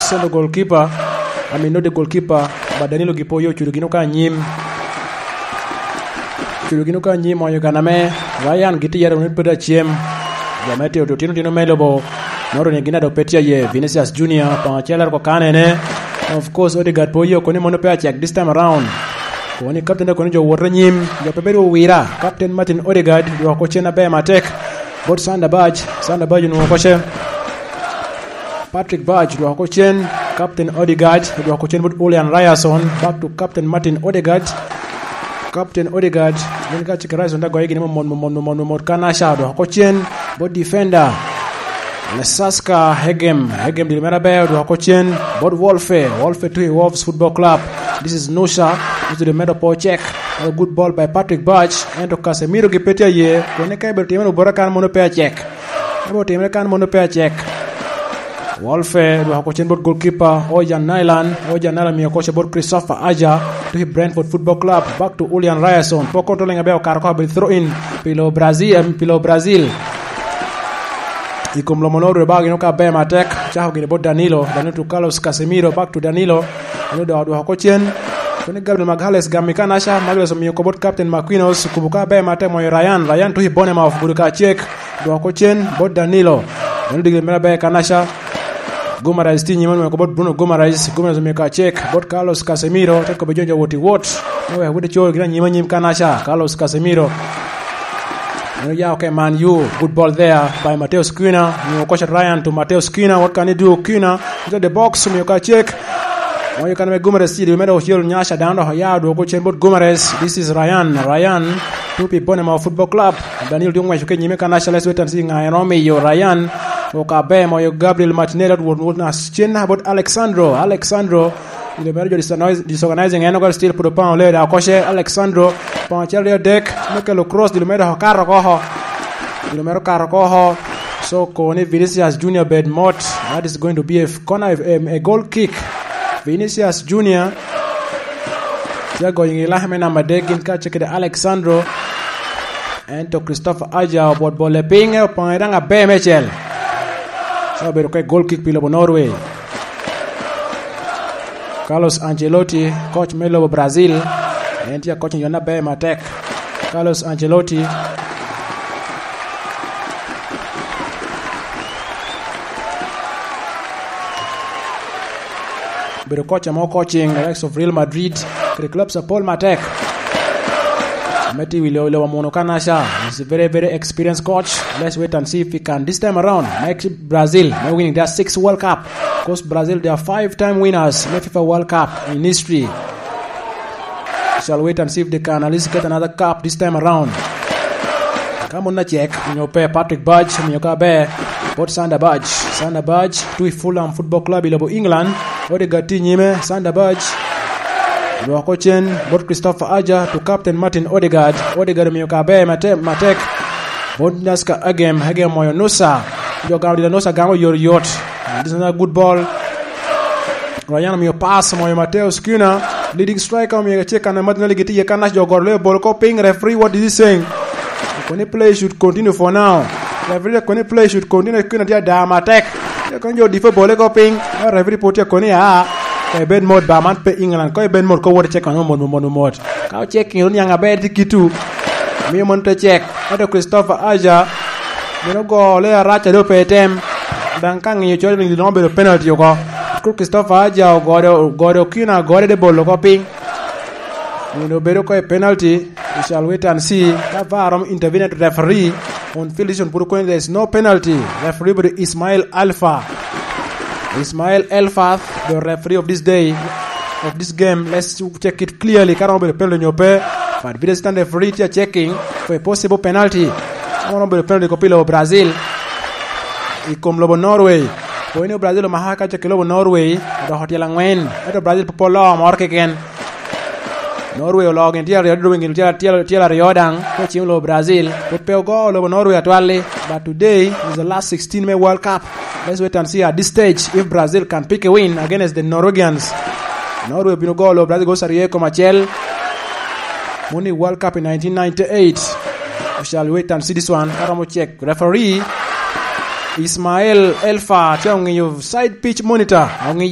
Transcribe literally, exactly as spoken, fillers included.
Cento goalkeeper, I mean, not the goalkeeper, but Danilo Gipoyo ocudo gino ka anyim. Ocudo gino ka anyim, moyo gana me Ryan Gitiyero ni pwod acem. Jo me tio otino tino me lobo, Noro ni gina do pe tye aye, Vinicius Junior, pang acel aroko kanene. Of course, Odegaard po yo koni mono pe acek this time around. Koni captain koni jo woto nyim, jo pe bedo owira. Captain Martin Odegaard, dwoko cen aber matek. Bot Sander Berge, Sander Berge onwoŋo koce. Patrick Berge odwoko cen, Captain Odegaard odwoko cen bot Julian Ryerson, back to Captain Martin Odegaard. Captain Odegaard, gin ka cik Ryerson te goyo gini momot, momot, momot, momot, ka Nasha odwoko cen, bot defender, Lesaska Hegem, Hegem dilo mere aber odwoko cen, bot Wolfe, Wolfe to Wolves Football Club. This is Nusha, Nusha dilo mere po cek, a good ball by Patrick Berge, ento Casemiro gi pe tye aye, kone ka ibedo timere obora kan mono pe acek. Ebe otimere kan mono pe acek. Wolfe dwoko cen bot goalkeeper, Ojan Nyland. Ojan Nyland mio koce bot Christopher Aja, to Brentford Football Club, back to Julian Ryerson. Po kontrol ŋa be okaro ko abed throw in, pilo Brazil, em, pilo Brazil. I kom lomo loro ba gino ka be matek, cako gini bot Danilo, Danilo to Carlos Casemiro, back to Danilo. Danilo dwoko dwoko cen. Tony Gabriel Magalhaes gami ka Nasha, Magalhaes omio ko bot Captain Marquinhos, kubo ka be matek moyo Ryan, Ryan to Bournemouth, gudo ka cek. Dwoko cen bot Danilo. Danilo digil mere aber ka Nasha. Gumares tye nyime onweko bot Bruno Gumares. Gumares omio ka cek bot Carlos Casemiro. Te kobe jonjo wot i wot. Me wek wot i coro gin anyim anyim ka Nasha. Carlos Casemiro. Meno ya oke Man U. Good ball there by Mateus Cunha. Onweko koc Ryan to Mateus Cunha. Wot kani du Cunha. Into the box, omio ka cek. Moyo kani me Gumares tye, dwe mere ocel nyasha dano dok oya dwoko cen bot Gumares. This is Ryan. Ryan. Tupi Bournemouth Football Club. Daniel tye ong'weco ki i nyime ka National Western City ŋa en omiyo Ryan okabe moyo Gabriel Martinelli otwot wot na cen na bot Alexandro. Alexandro, dilo mere jo disorganize-, disorganizing en ogal still pud opaŋo lee da okoce. Alexandro, paŋo acel ryo dek, me kelo cross, dilo mere dok okato oko. Dilo mere okato oko. So, koni Vinicius Junior bed mot. That is going to be a f-, corner, a, a goal kick. Vinicius Junior, tye agoyo i laka me namba adek, gin kacel kede Alexandro. Ento Christopher Aja obwot bolle piny, en opaŋo i daŋ aber mecel. So obedo ka i goal kick pi lobo Norway. Carlos Ancelotti, coach me lobo Brazil, en tye acoach i yone aber matek. Carlos Ancelotti, obedo coach ame ocoaching the likes of Real Madrid, kede clubs apol matek. Ame tye i wi lo-, lobo muno ka Nasha. He's a very, very experienced coach. Let's wait and see if he can this time around make Brazil me winning their sixth World Cup. Because Brazil, they are five-time winners me FIFA World Cup in history. Shall wait and see if they can at least get another cup this time around. Ka mon acek, onyo pe Patrick Berge, omiyo ka ber, bot Sander Berge. Sander Berge, to i Fulham Football Club i lobo England. Odegaard tye i nyime, Sander Berge. Dwoko cen, bot Christopher Aja, to captain Martin Odegaard. Odegaard omiyo ka ber mate-, matek. Bot Naska Agem, Agem omoyo Nusa. Jo gamo dilo Nusa gamo yot yot. This is a good ball. Ryan omiyo pass, omoyo Mateus Cunha. Leading striker omiyo cek kan Martinelli gitye iye kan Nash jo ogoro leo bolo ko piny, referee, what is he saying? Koni play should continue for now. Referee koni play should continue, Cunha tye ada matek. Koni jo defo bole ko piny. Referee pwod tye koni, "Ah, ebed mot ba, man pe England. Ko ebed mot ko wot cek kan mot, mot, mot, mot." Ka ocek ŋeo niaŋ aber tye kitu. Miyo mon te cek. Ento Christopher Aja, meno go le arac a doŋ pe tem. Daŋ ka ŋiyo col ni doŋ obedo penalty oko. Kor Christopher Aja ogodo, ogodo Cunha, ogodo de bolo oko piny. Onyo obedo ko i penalty, we shall wait and see. Ka V A R romo intervene to referee, on field decision puro koni there is no penalty. Referee obedo Ismail Alpha. Ismail Elfath, the referee of this day, of this game. Let's check it clearly. Ka romo bedo penalty nyo pe. But video assistant referee tye checking for a possible penalty. Ka romo bedo penalty ko pi lobo Brazil. I kom lobo Norway. Pwony ni Brazil omaka ka cek ki lobo Norway. Odoko tyel angwen. Ento Brazil pwod pe oloo moro keken. Norway oloo gin tyel aryo, drawing gin tyel, tyel, tyel aryo daŋ, te cim lobo Brazil. Pwod pe ogo lobo Norway atwal-li, but today is the last sixteen me World Cup. Let's wait and see at this stage if Brazil can pick a win against the Norwegians. Norway obino go lobo Brazil goal aryo i kom acel. Moni World Cup in nineteen ninety-eight. We shall wait and see this one. Ka romo cek. Referee Ismail Elfa tye oŋiyo side pitch monitor. Oŋiyo